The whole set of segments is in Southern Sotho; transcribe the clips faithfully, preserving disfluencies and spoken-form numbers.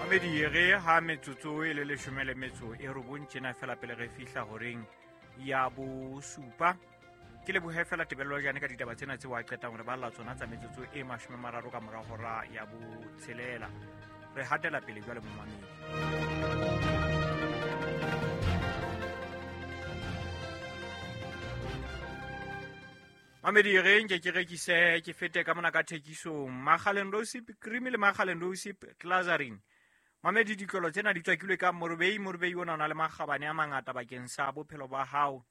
Mamedi re ha metsotso e le leshome le metso e robong tjena fela pele re fihla horeng ya bosupa. Ke lebohe fela Tebello Jane ka ditaba tsena tseo a qetang hore ba lla tsona tsa metsotso e mashome mararo ka mora hora ya botshelela. Re hatela pele jwale momamedi. Mamedi re nke ke rekise ke fete ka mona ka thekisong Makgaleng Rosip cream le Makgaleng Rosip Glazarin. Mamedi ditlolo tsena di tswakilwe ka morobei, morobei ona o na le makgabane a mangata bakeng sa bophelo ba hao.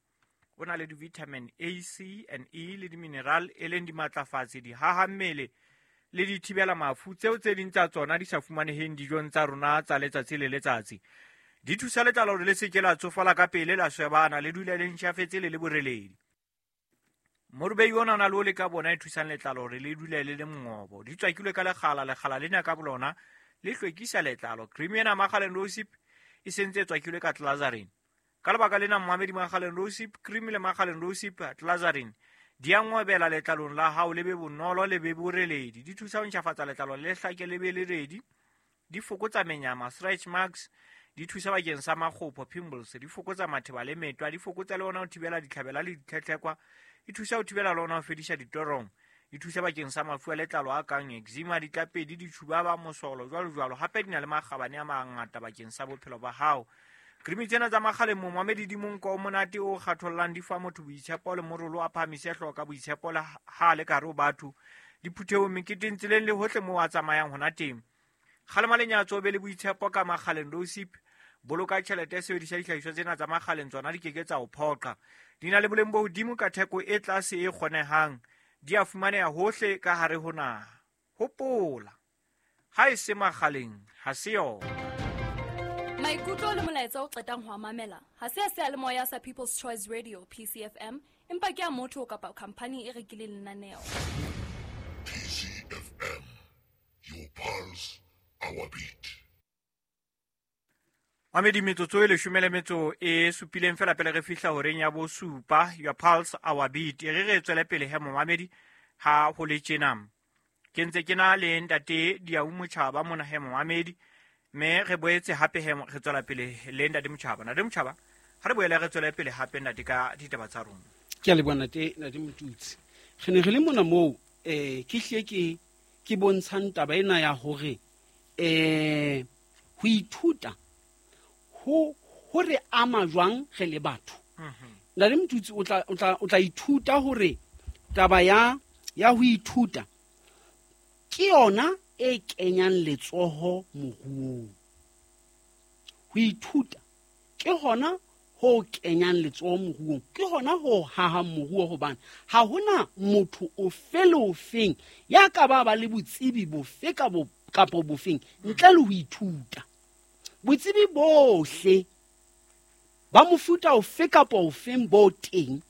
O na le di-vitamin A, C and E le di-mineral e leng dimatlafatsi, dihaha mmele le dithibela mafu tseo tse ding tsa tsona di sa fumaneheng dijong tsa rona tsa letsatsi le letsatsi. Di thusa letlalo hore le se ke la tsofala ka pele, la swebana, le dule le ntjhafetse le le boreledi. Morobei ona o na le ole ka bona e thusang letlalo hore le dule le le mongobo. Di tswakilwe ka lekgala, lekgala lena ka bolona le hlwekisa letlalo. Cream ena Makgaleng Rosip e sentse e tswakilwe ka Glazarin. Ka lebaka lena momamedi Makgaleng Rosip cream le Makgaleng Rosip Glazarin di a ngobela letlalong la hao, le be bonolo le be boreledi. Di thusa ho ntjhafatsa letlalo le hlake le be leredi. Di fokotsa menyama, stretch marks, di thusa bakeng sa makgopho, pimples, di fokotsa matheba le metwa, di fokotsa le ona ho thibela ditlhabela le ditlhetlhekwa, di thusa ho thibela le ona ho fedisa ditorong, di thusa bakeng sa mafu a letlalo a kang eczema, ditlapedi, ditjhubaba, mosolo, jwalo jwalo. Hape di na le makgabane a mangata bakeng sa bophelo ba hao. Cream tsena tsa Makgaleng momamedi di monko o monate o kgathollang, di fa motho boitshepo le morolo a phahamise hlooho ka boitshepo le ha le ka hare ho batho, diphuthehong, meketeng, tseleng le hohle moo a tsamayang hona teng. Kgalema lenyatso, be le boitshepo ka Makgaleng Rosip. Boloka tjhelete, sebedisa dihlahiswa tsena tsa Makgaleng, tsona di keke tsa o phoqa. Di na le boleng bo hodimo ka theko e tlase e kgonehang. Di a fumaneha hohle ka hare ho naha. Hopola, ha e se Makgaleng, ha se yona. Maikutlo le molaetsa o qetang ho a mamela ha se a seyalemoya sa People's Choice Radio P C F M, empa ke a motho kapa khampani e rekileng lenaneo. P C F M, your pulse, our beat. Mamedi metsotso e leshome le metso e supileng fela pele re fihla horeng ya bosupa, your pulse, our beat. E re re tswele pele he momamedi ha ho le tjena. Ke ntse ke na le ntate Diau Motjhaba mona he momamedi, mme re boetse hape he re tswela pele le ntate Motjhaba. Ntate Motjhaba, ha re boele re tswele pele hape ntate ka ditaba tsa rona. Ke a leboha ntate, ntate Motutsi. Re ne re le mona moo eh ke hlile ke ke bontshang taba ena ya hore eh ho ithuta ho ho re ama jwang re le batho. Ntate Motutsi o tla o tla o tla ithuta hore taba ya ya ho ithuta ke yona e kenyang letsoho moruong. Ho ithuta ke hona ho kenyang letsoho moruong, ke hona ho hahang moruo, hobane ha hona motho ofe le ofeng ya ka ba ba le botsebi bofe ka bo kapa bofeng ntle le ho ithuta. Botsebi bohle ba mofuta ofe kapa ofeng bo teng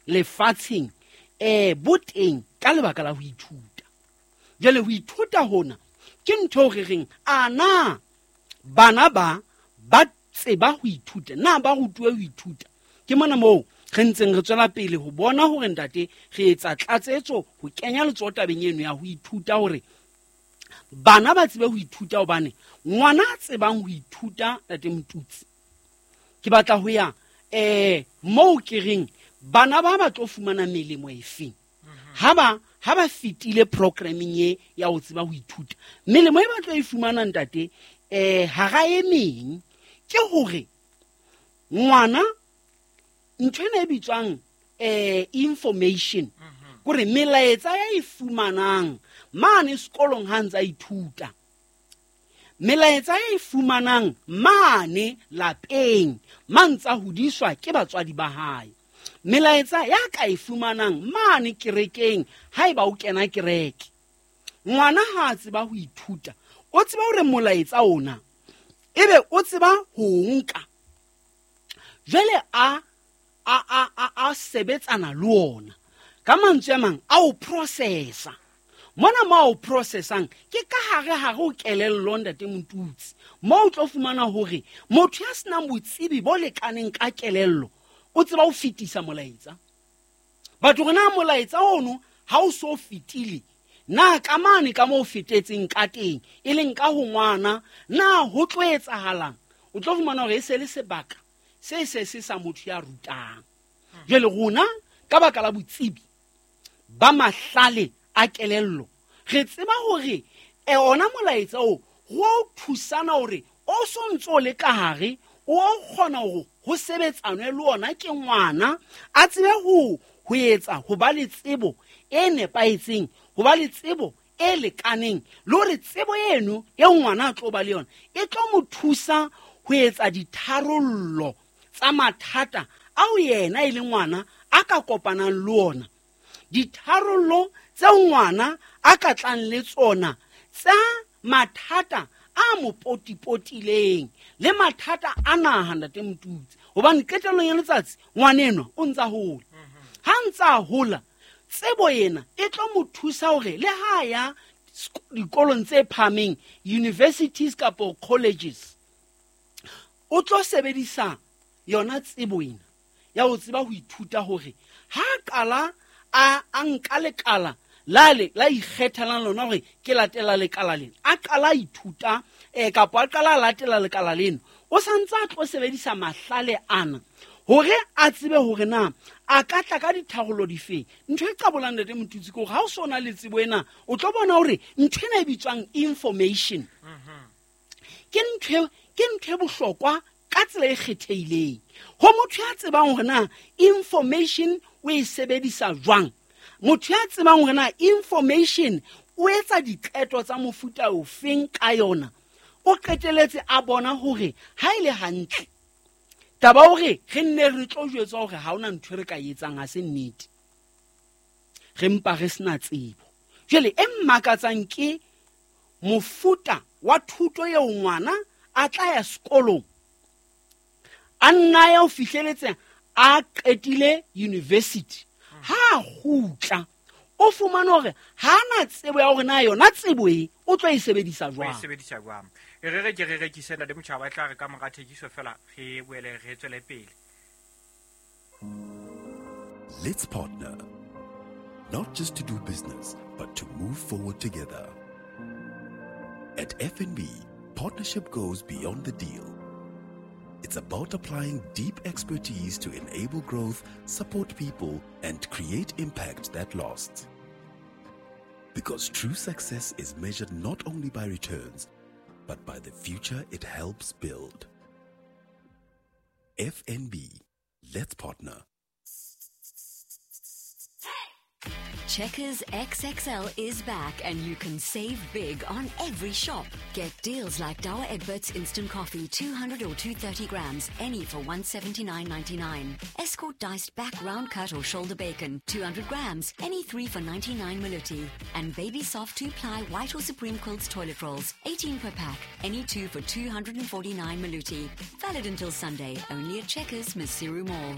lefatsheng eh bo teng ka lebaka la ho ithuta. Jwale ho ithuta hona ke ntho re reng a na bana ba ba tseba ho ithuta, na ba rutuwe ho ithuta. Ke mona moo re ntseng re tswela pele ho bona hore ntate re etsa tlatsetso ho kenya letsoho tabeng eno ya ho ithuta, hore bana ba tsebe ho ithuta, hobane ngwana a tsebang ho ithuta ntate Motutsi, ke batla ho ya eh moo ke reng bana ba ba tlo fumana melemo efeng ha ba ha ba fetile programming e ya ho tseba ho ithuta. Melemo e ba tlo e fumana ntate eh hara e meng ke hore ngwana ntho ena e bitswang eh information, kore melaetsa ya e fumanang mane sekolong ha ntsa ithuta, melaetsa ya e fumanang mane lapeng ma ntsa hodiswa ke batswadi ba hae, melaetsa ya ka e fumanang mane kerekeng haeba o kena kereke. Ngwana ha a tseba ho ithuta, o tseba hore molaetsa ona ebe o tseba ho nka, jwale a a a a a sebetsana le ona. Ka mantswe a mang a o processa. Mona ma o processang ke ka hare hare o kelello ntate Motutsi, mo o tlo fumana hore motho ya senang botsebi bo lekaneng ka kelello o tseba ho fetisa molaetsa. Batho rena molaetsa ono ha o so fetile, Na ka mane ka moo fetetseng ka teng e leng ka ho ngwana na ho tlo etsahalang? O tlo fumana hore e se le sebaka se se se sa motho ya rutang. Jwale rona ka baka la botsebi ba mahlale a kelello re tseba hore e ona molaetsa o go thusana hore o sontso le ka hare o kgona hore ho sebetsanwe le ona ke ngwana a tsebe ho ho etsa ho ba le tsebo e nepahetseng, ho ba le tsebo e lekaneng, le hore tsebo eno e ngwana a tlo ba le yona e tlo mo thusa ho etsa ditharollo tsa mathata ao yena e le ngwana a ka kopanang le ona, ditharollo tse ngwana a ka tlang le tsona tsa mathata a mo potipotileng le mathata a naha ntate Motutsi. Hobane qetellong ya letsatsi ngwana enwa o ntsa hola, ha ntsa hola tsebo ena e tlo mo thusa hore le ha ya dikolong tse phahameng, universities kapa colleges, o tlo sebedisa yona tsebo ena ya ho tseba ho ithuta hore ha qala a a nka lekala la le la ikgethelang lona hore ke latela lekala lena, a qala ithuta eh kapa a qala latela lekala lena, o santse a tlo sebedisa mahlale ana hore a tsebe hore na a ka tla ka ditharollo difeng. Ntho e qabolang ntate Motutsi ke hore ha o sona le tsebo ena o tlo bona hore ntho ena e bitswang information ke ntho ke ntho e bohlokwa ka tsela e kgethehileng. Ho motho ya tsebang hore na information o e sebedisa jwang, motho ya tsebang hore na information o etsa diqeto tsa mofuta ofeng ka yona, o qeteletse a bona hore ha ile hantle taba hore re nne re tlo jwetswa hore ha hona ntho re ka etsang ha se nnete, re mpa re sena tsebo. Jwale e mmakatsang ke mofuta wa thuto eo ngwana a tla ya sekolong a nna ya ho fihleletse a qetile university, ha kgutla o fumana hore ha na tsebo ya hore na yona tsebo e o tlo e sebedisa jwang. O e sebedisa jwang. E re re ke re rekise ntate Motjhaba, e tla re ka mora thekiso fela re boele re tswele pele. Let's partner, not just to do business, but to move forward together. At F N B, partnership goes beyond the deal. It's about applying deep expertise to enable growth, support people, and create impact that lasts. Because true success is measured not only by returns, but by the future it helps build. F N B, let's partner. Checkers X X L is back and you can save big on every shop. Get deals like Douwe Egberts Instant Coffee, two hundred or two hundred thirty grams, any for one seventy-nine ninety-nine. Escort diced back round cut or shoulder bacon, two hundred grams, any three for ninety-nine maluti. And Baby Soft two-ply white or Supreme Quilts toilet rolls, eighteen per pack, any two for two hundred forty-nine maluti. Valid until Sunday, only at Checkers, Maseru Mall.